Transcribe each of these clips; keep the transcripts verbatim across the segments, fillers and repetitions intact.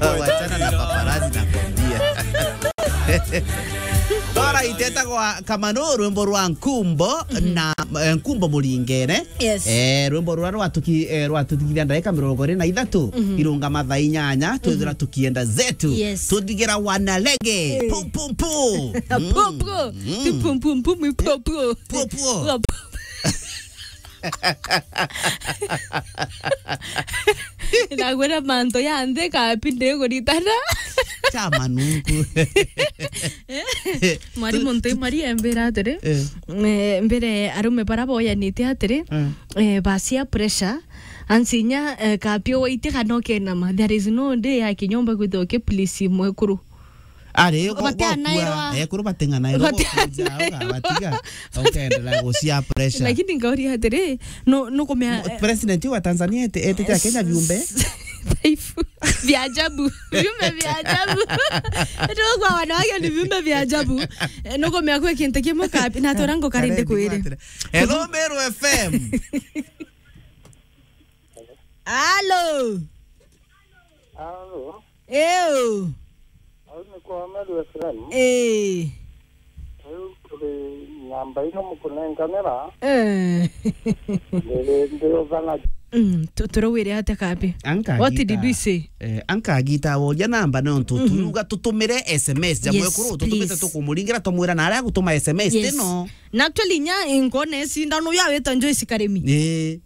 Wachana na paparazzi na kwambia. Alright, etagwa Kamano, rwimbo rwa Nkumbo na, eh, Nkumbo Muringene. Yes. Eh, rwimbo rura rwatuki-, eh, rwatuthikithia ndagika mirongo iri na ithatu, irunga mathaa inyanya, twithira tukienda zetu. Yes. Tuthigira wana lege. Eh. Pum, pum, pum. Pum, pum. Mm. Ti pum, pum, pum, ni pum, pum. Pum, pum. Pum, pum. Ndagwira mantu ya nthi kapi ndiguritana. Cha manungu. Mwarimu nti mwari embira atiri, eh, eh, mbere arume bara boyanite atiri, eh, bacia pressure, ansinya, eh, kapi waitie kana ukenama. There is no day ya kinyomba kwithirwa ki please mwekuru. Ari, go-, gokua, batanairwa. Ekuru bateng'anairwa, batiga, ukaendelea gucia pressure. Lakini ngauria atiri, no, no kumea, eh, president wa Tanzania ete-, etete Akenya viumbe. Dhaifu. Vya ajabu. Viumbe vya ajabu. Ndio kwa wanawake ni viumbe vya ajabu. Eh, no kumea kwe kintu kimwe kapi, na tora ngo karinde kwire. Hello, Meru F M. Halo. Halo. Ew. Au ni kwa Meru F M. Eh. Riu kuri namba ino mukunenganira. Eh. Ndiri, ndiri uthana. Mm, tu-, turawire atia kapi? What did we say? Eh, ankagita woria namba nontu, mhm, turuga tutumire S M S ja, yes, mwekuru, tutumite, please, tukumuringira, tumwira na aria gutuma S M S, yes, tino. Na actually, nya inkone sindano ya weta Joyce Karimi. Eh.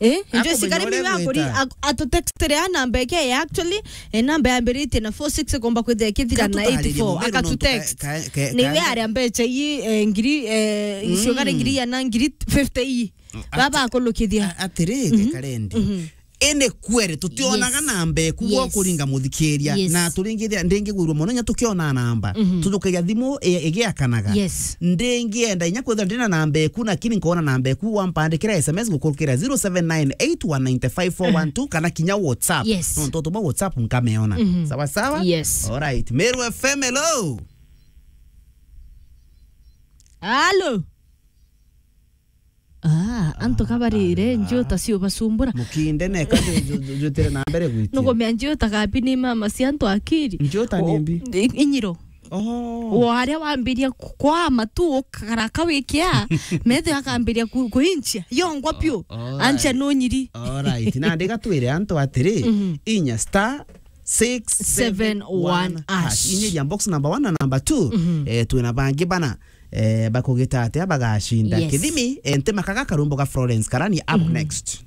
Eh, Joyce Karimi wa kuri, ak-, atutextire a namba eke ya actually, eh, namba yambiritie na four six, komba kwithira ikithira na eight four, akatutext. Niwe aria mbecha ii, eh, ngiri, eh, mm, icio kare ngiri ya na ngiri fifty ii. Mm, baba akulukithia. A-, atiri, mhm, Karendi. Mhm. Ene kwere, tutionaga, yes, namba eku, yes, gwa kuringa muthikiria. Yes. Na turingithia, ndingigwirwa mono nya tukiona namba. Mhm. Tujukagia thimu, e-, igiakanaga. Yes. Ndingienda inya kwithira ndina namba eku, lakini nkona namba eku, wampandikira S M S ngukurukira zero seven nine eight one nine five four one two, kana kinya WhatsApp. Yes. Nontu utuma WhatsApp nkameona. Mhm. Sawa sawa? Yes. Alright. Meru F M, hello. Halo. Ah, antu kabarire, ah, njuta cio basumbura. Mukinde neka ju-, ju-, ju-, jutire na mbere gwitia. Nugumia njuta kapi ni mama cia antu akiri. Njuta ni mbi? I-, inyiro. Oh. Wo aria wambiria ku-, kwama tu ukaraka wikia, methe akambiria ku-, kuinchia. Yongwa piu. Oh, alright. Ancha no nyiri. Alright. Na ndiga twire antu atiri, mhm, inya star six seven one hash. Inyiria box number one na number two. Mhm. Eh, twina bangi bana, eh, bakugita atia bagacinda. Yes. Kithimi, eh, ntimakaga karumbo ga Florence Karani up, mhm, next.